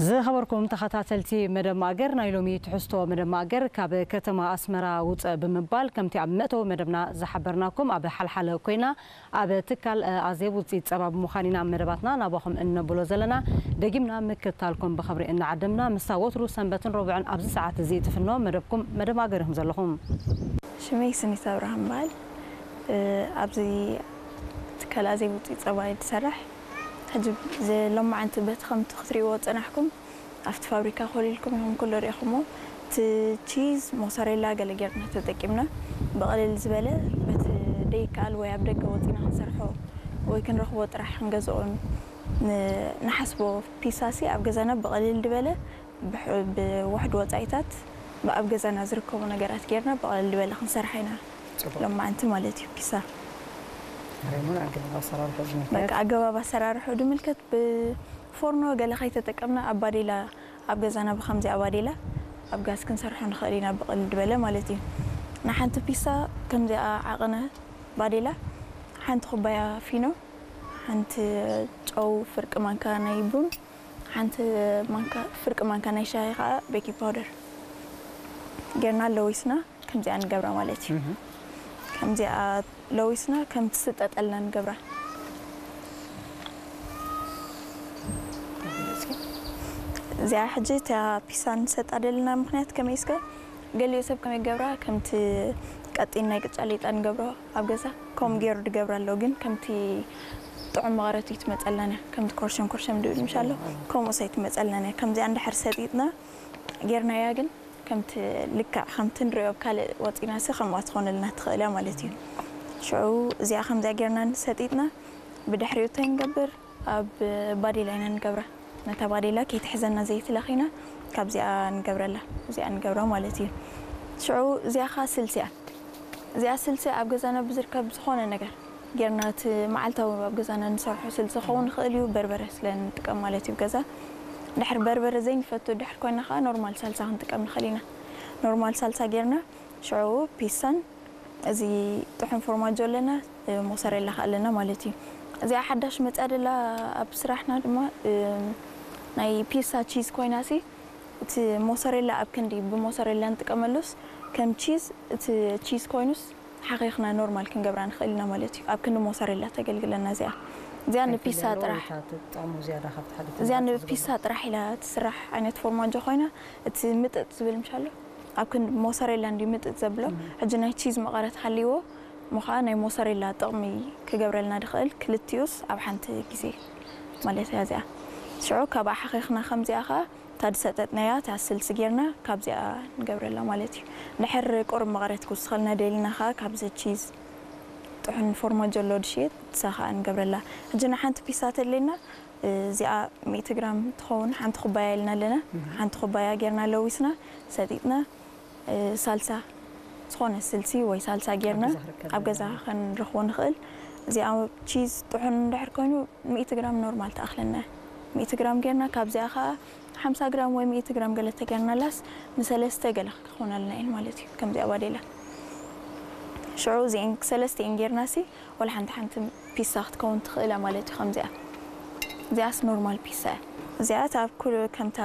ዝኸበርኩም ተኸታተልቲ መደብ ማእገር፣ ናይ ሎሚ ትሕዝቶ መደብ ማእገር ካብ ከተማ ኣስመራ ውፅእ ብምባል፣ ከምቲ ኣብ መእተዊ መደብና ዝሓበርናኩም፣ ኣብ ሓልሓለ ኮይና ኣብ ትካል ኣዜብ ውፅኢት ፀባ ብምዃን ኢና መደባትና ናባኹም እነብሎ ዘለና። ደጊምና ምክትታልኩም ብኽብሪ እናዓደምና፣ ምስታ ወትሩ ሰንበትን ረቡዕን ኣብዚ ሰዓት እዚ ትፍኖ መደብኩም መደብ ማእገር ኢኹም ዘለኹም። ሽመይ ስኒት ኣብርሃም በሃል። ኣብዚ ትካል ኣዜብ ውፅኢት ፀባ እየ ዝሰርሕ። ሕጂ ሎማዓንቲ በቲ ከምቲ ክትሪእዎ ዝፀናሕኩም ኣብቲ ፋብሪካ ኮሊልኩም ኢኹም ኩሉ ሪኢኹሞ። እቲ ቺዝ፣ ሞሰሬላ ገለ ጌርና ተጠቂምና፣ ብቕልል ዝበለ በቲ ደይከኣል ወይ ኣብ ደገ ወፂና ክንሰርሖ ወይ ክንረኽቦ ጥራሕ ክንገዝኦ ን-፣ ንሓስቦ ፒሳሲ ኣብ ገዛና ብቕልል ዝበለ ብሕ-፣ ብውሕድ ወፃኢታት ብኣብ ገዛና ዝርከቡ ነገራት ጌርና ብቕልል ዝበለ ክንሰርሓ ኢና። ጽቡቕ። ሎማዓንቲ ማለት እዩ ፒሳ። ሬሞን ኣገባብ ኣሰራርሑ ዝምልከት? በቃ ኣገባብ ኣሰራርሑ ዝምልከት ብፎርኖ ገለ ከይተጠቀምና ኣብ ባዴላ፣ ኣብ ገዛና ብከምዚኣ ባዴላ ኣብ ጋዝ ክንሰርሖ ንኽእል ኢና ብቕልል ዝበለ ማለት እዩ። ንሓንቲ ፒሳ ከምዚኣ ዓቕነ ባዴላ ሓንቲ ኩባያ ፊኖ፣ ሓንቲ ጨው፣ ፍርቂ ማንካ ናይ ቡን፣ ሓንቲ ማንካ፣ ፍርቂ ማንካ ናይ ሻሂ ከዓ ቤኪንግ ፓውደር ጌርና ለዊስና ከምዚኣ ንገብራ ማለት እዩ። እህ። ከምዚኣ ለዊስና ከም ትስጠጠልና ንገብራ። እዚኣ ሕጂ እታ ፒሳ ንሰጣ ደለና ምኽንያት ከመይ እስከ ገሊኡ ሰብ ከመይ ገብራ ከምቲ ቀጢን ናይ ቅጫ ሌጣ ንገብሮ ኣብ ገዛ ከምኡ ገይሩ ድገብራ ኣሎ። ግን ከምቲ ጥዑም መቐረት እዩ ትመፀልና እያ። ከምቲ ኮርሸም ኮርሸም ድብል ምሻሎ ከምኡ ሰይ ትመፀልና እያ። ከምዚኣ እንድሕር ሰጢጥና ጌርናያ ግን ከምቲ ልክዕ ከምቲ ንሪኦ ኣብ ካልእ ወፂና ሲ ከምኣ ትኾነልና ትኽእል እያ ማለት እዩ። ሽዑ እዚኣ ከምዚኣ ጌርና ሰጢጥና ብድሕሪኡ እንታይ ንገብር? ኣብ ባዴላ ኢና ንገብራ። ነታ ባዴላ ከይትሕዘና ዘይትለኺና ካብዚኣ ንገብረላ። እዚኣ ንገብራ ማለት እዩ። ሽዑ እዚኣ ኸዓ ስልሲ እያ። እዚኣ ስልሲ ኣብ ገዛና ብዝርከብ ዝኾነ ነገር ጌርና እቲ መዓልታዊ ኣብ ገዛና ንሰርሖ ስልሲ ክኸውን ይኽእል እዩ። በርበረ ስለ ንጥቀም ማለት እዩ ገዛ። ድሕር በርበረ ዘይንፈቱ ድሕር ኮይና ኸዓ ኖርማል ሳልሳ ክንጥቀም ንኽእል ኢና። ኖርማል ሳልሳ ጌርና ሽዑ ፒሳን እዚ ጥሑን ፎርማጆ ኣለና፣ እ፣ ሞሰሬላ ከ ኣለና ማለት እዩ። እዚኣ ሓዳሽ መፅያ ደላ ኣብ ስራሕና ድማ፣ እ፣ ናይ ፒሳ ቺዝ ኮይና ሲ፣ እቲ ሞሰሬላ ኣብ ክንዲ ብሞሰሬላ ንጥቀመሉስ፣ ከም ቺዝ፣ እቲ ቺዝ ኮይኑስ ሓኺኽና ኖርማል ክንገብራ ንኽእል ኢና ማለት እዩ። ኣብ ክንዲ ሞሰሬላ ተገልግለና እዚኣ። እዚኣ እንታይ ንፒሳ ትብልያ ኣለዎ? ጥራሕ። ወይ እታ ትጥዕሙ ዝያዳ ካብቲ ሓደ እዚኣ ትብልያ ንፒሳ ዝብልያ? ጥራሕ ኢላ ትስራሕ ዓይነት ፎርማጆ ኮይና፣ እቲ ምጥጥ ዝብል ምሻሎ? ኣብ ክንዲ ሞሰሬላ እንድዩ ምጥጥ ዘብሎ። እም። ሕጂ ናይ ቺዝ መቐረት ሃልይዎ፣ እሞ ኸዓ ናይ ሞሰሬላ ጥቕሚ ክገብረልና ድኽእል ክልቲኡስ ኣብ ሓንቲ ግዜ ማለት እያ እዚኣ። ሽዑ ካብኣ ሓኺኽና ከምዚኣ ኸዓ እታ ዝሰጠጥናያ እታ ስልሲ ጌርና ካብዚኣ ንገብረላ ማለት እዩ። ድሕር ቁሩብ መቐረት ክውስኸልና ደሊና ኸዓ ካብዚ ቺዝ ጥሑን ፎርማጆ ኣሎ ድሽየጥ እሳ ኸዓ ንገብረላ። ሕጂ ንሓንቲ ፒሳ ተድልየና እዚኣ ሚእቲ ግራም ትኸውን ሓንቲ ኩባያ ኢልና ኣለና። እህ። ሓንቲ ኩባያ ጌርና ለዊስና፣ ሰጢጥና፣ እ፣ ሳልሳ ዝኾነ ስልሲ ወይ ሳልሳ ጌርና ኣብ ገዛ ክርከብ ኣብ ገዛ ይኽእል። ከንረኽቦ ንኽእል። እዚኣ ቺዝ ጥሑን እንድሕር ኮይኑ ሚእቲ ግራም ኖርማል ትኣኽለና። ሚእቲ ግራም ጌርና ካብዚኣ ኸዓ ሓምሳ ግራም ወይ ሚእቲ ግራም ገለ ተጌርናላስ ንሰለስተ ገለ ክኾነልና እየን ማለት እዩ። ከምዚኣ ባዴላ። ሽዑ እዚአን ሰለስቲአን ጌርና ሲ፣ ወላ ሓንቲ ሓንቲ ፒሳ ክትከውን ትኽእል እያ ማለት እዩ። ከምዚኣ። እዚኣስ ኖርማል ፒሳ እያ። እዚኣ እታ ኣብ ኩሉ ከምታ